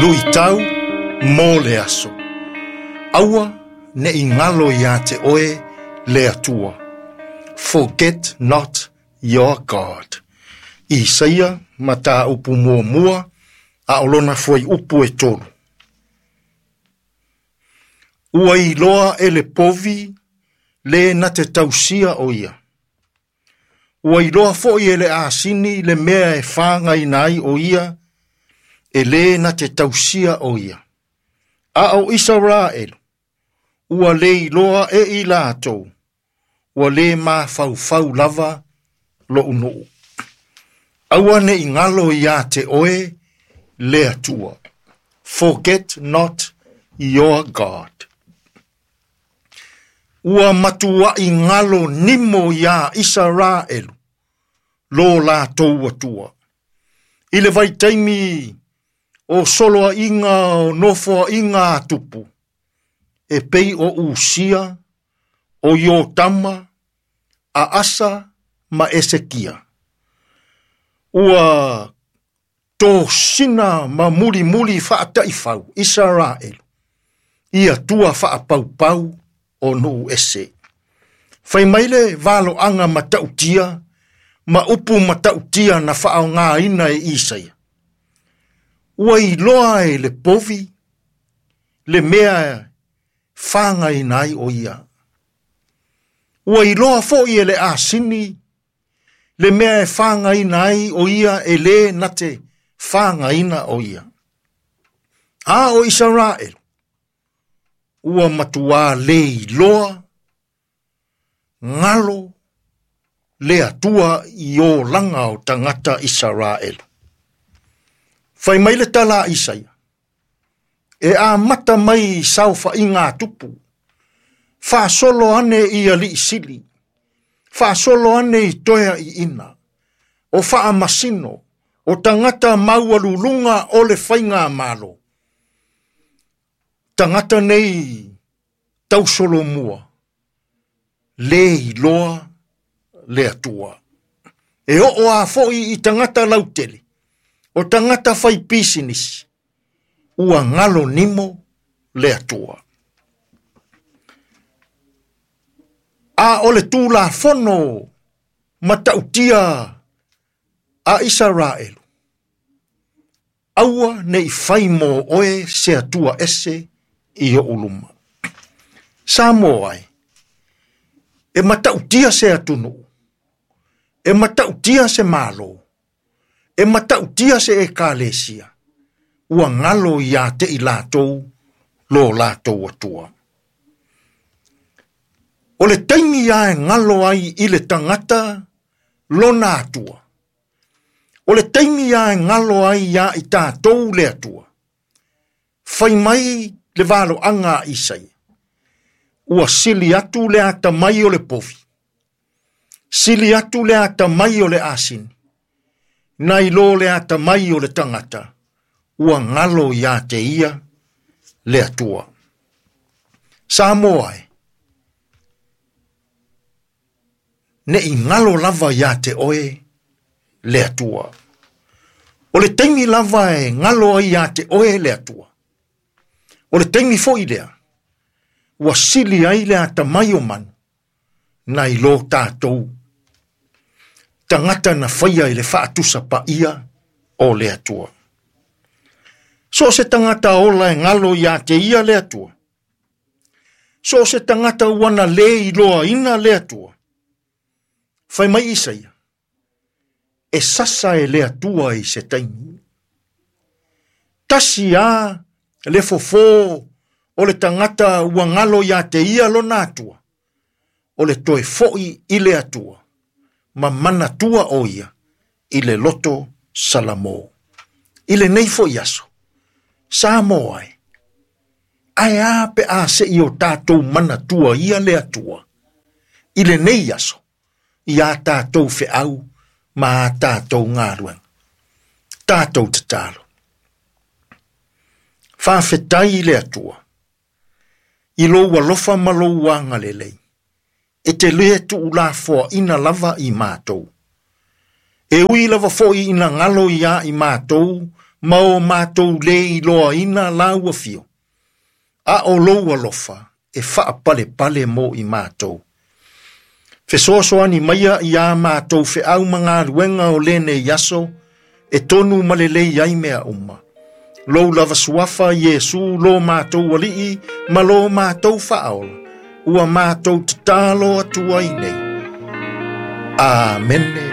Luitau mo le aso. Aua ne i galo iā te oe le Atua. Forget not your God. Isaia mataupu 1 a o lona fuaiupu e 3. Ua iloa e le povi le na te tausia o ia. Ua iloa foi e le asini le mea e whāngaina ai o ia, e le na te tausia o ia. A o Isaraelu, ua le iloa e i latou, ua le mafaufau lava lo'u nuu. Aua ne i galo iā te oe le Atua. Forget not your God. Ua matuai galo nimo iā Isaraelu, lo latou Atua. I le vaitaimi o soloaiga o nofoaiga a tupu, e pei o Usia, o Iotama, a Asa ma Esekia. Ua tosina ma mulimuli faataifau Isaraelu, i Atua faapaupau o nuu ese. Fai mai le valoaga matautia, ma upu matautia na faaaogaina e Isaia. Ua iloa e le povi, le mea whāngaina ai o ia. Ua iloa foi e le asini, le mea e whāngaina ai o ia e le na te whāngaina o ia. A o Isaraelu, ua matuā le iloa, ngalo, le Atua i olaga o tagata Isaraelu. Fai mai le tala a Isaia, e amata mai i saofaiga a tupu, faasolo ane i alii sili, faasolo ane i toeaiina, o faamasino, o tagata maualuluga o le faigamalo. Tagata nei tausolomua, le iloa le Atua. E oo a foi i tagata lautele, o tagata fai pisinisi, ua galo nimo le Atua. A o le Tulafono matautia a Isaraelu, aua ne i fai mo oe se Atua ese i oʻu luma. Samoa ai, e matautia se atunuu, e matautia se malo, e matautia se ekalesia, ua galo iā te i latou lo latou Atua. O le taimi a e galo ai i le tagata lona Atua. O le taimi a e galo ai iā i tatou le Atua. Fai mai le valoaga a Isaia, ua sili atu le atamai o le povi, sili atu le atamai o le asini, nai lo le atamai o le tagata, ua galo iā te ia le Atua. Samoa e, ne i galo lava iā te oe le Atua. O le taimi lava e galo ai iā te oe le Atua. O le taimi foi lea, ua sili ai le atamai o manu, nai lo tatou. Tagata na faia i le faatusa paia o le Atua. So o se tagata ola e galo iā te ia le Atua. So o se tagata ua na le iloaina le Atua. Fai mai Isaia, e sasa e le Atua i se taimi. Tasi a le fofo o le tagata ua galo iā te ia lona Atua, o le toe foi i le Atua, ma manatua o ia i le loto Salamo. I lenei foi aso, Samoa e, ae a pe a seʻi o tatou manatua ia le Atua, i lenei aso, i a tatou feau ma a tatou galuega. Tatou tatalo. Faafetai i le Atua, i lou alofa ma lou agalelei, e te le tuulafoaina lava i matou. E ui lava foi ina galo iā i matou ma o matou lē iloaina lau afio, a o lou alofa e faapalepale mo i matou. Fesoasoani maia iā matou feau ma galuega o lenei aso, e tonu ma lelei ai mea uma. Lou lava suafa Iesu lo matou alii ma lo matou faaola, ua matou tatalo atu ai nei. Amene.